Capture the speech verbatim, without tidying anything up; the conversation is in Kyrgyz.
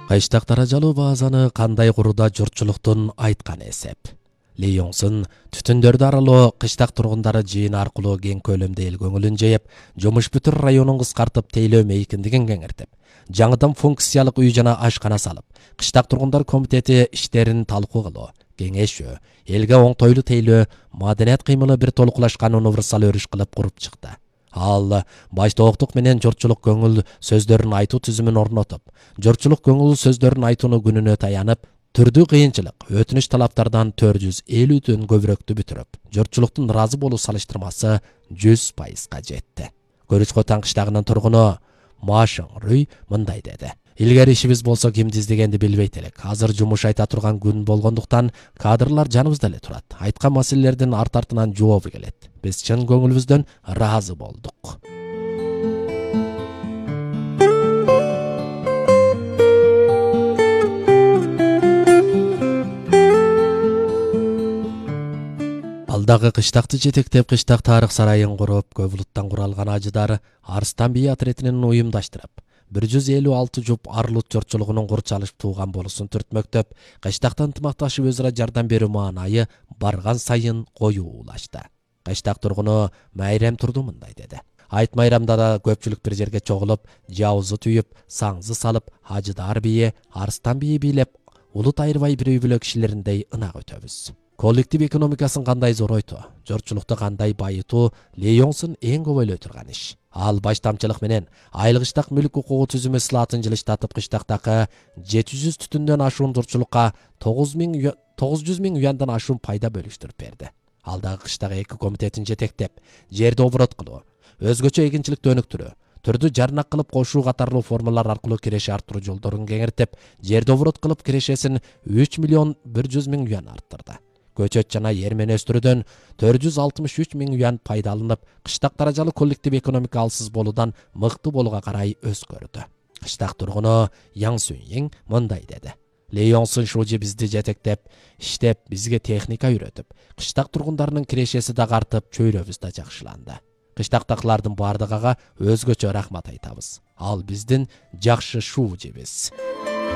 Кыштак даражалуу баазаны кандай курууда журтчулуктун айткан эсеп. Ли Йоңсун түтүндөрдү аралоо кыштак тургундары жыйын аркылуу кең көлөмдө эл көңүлүн жайып, жумуш бүтүр районун кыскартып тейлөө мейкиндигин кеңиртип, жаңыдан функциялык үй жана ашкана салып, кыштак тургундар комитети иштерин талкуу кылуу, кеңешүү, элге оңтойлуу тейлөө, маданият кыймылы бир толукулашкан универсал өрүш кылып куруп чыкты. Ал баштооктук менен журтчулук көңүл сөздөрүн айтуу түзүмүн орнотуп, журтчулук көңүл сөздөрүн айтууну күнүнө таянып, түрдүү кыйынчылык, өтүнүч талаптардан төрт жүз элүүдөн көбүрөөктү бүтүрүп, журтчулуктун ыраазы болуу салыштырмасы жүз пайызга жетти. Көрүчкө таң кыштагынын тургуну Машың Рүй мындай деди: Илгери ишибиз болсо кимди издегенди билбейт элек. Азыр жумуш айта турган күн болгондуктан кадрлар жаныбызда эле турат. Айткан маселелердин арт артынан жообу келет. Биз чын көңүлүбүздөн ыраазы болдук. Алдагы кыштакты жетектеп, кыштак тарых сарайын куруп, көп улуттан куралган ажыдар Арыстан бии отрядынын уюмдаштырып, бир жүз элүү алты жуп Арлут журтчулугунун курчалыш тууган болусун түртмөктөп, кыштакта ынтымакташып өзара жардам берүү маанайы барган сайын коюулашты. Кыштак тургуну Майрам Турду мындай деди: Айт майрамда да көпчүлүк бир жерге чогулуп, жабызы түйүп, саңзы салып, Ажыдар бии, Арыстан бии бийлеп, улут айырбай бир үй бүлө кишилериндей ынак өтөбүз. Коллектив экономикасын кандай зоройтуу, журтчулукту кандай байытуу Ли Йоңсун эң көп ойлой турган иш. Ал баштамчылык менен айыл кыштак мүлк укугу түзүмү ислаатын жылыштатып, кыштактагы жети жүз түтүндөн ашуун журтчулукка тогуз жүз миң уяндан ашуун пайда бөлүштүрүп берди. Ал дагы кыштагы эки комитетин жетектеп, жерди оборот кылуу, өзгөчө эгинчиликти өнүктүрүү, түрдүү жарнак кылып кошуу катарлуу формалар аркылуу киреше арттыруу жолдорун кеңиртип, жерди оборот кылып кирешесин үч миллион бир жүз миң уян арттырды. Көчөт жана эрмен өстүрүүдөн төрт жүз алтымыш үч миң уян пайда алынып, кыштак даражалуу коллектив экономика алсыз болуудан мыкты болууга карай өзгөрдү. Кыштак тургуну Яң Сүнйиң мындай деди: Ли Йоңсун шужи бизди жетектеп, иштеп, бизге техника үйрөтүп, кыштак тургундарынын кирешеси дагы артып, чөйрөбүз да жакшыланды. Кыштактакылардын бардыгага өзгөчө рахмат айтабыз. Ал биздин жакшы шужибиз.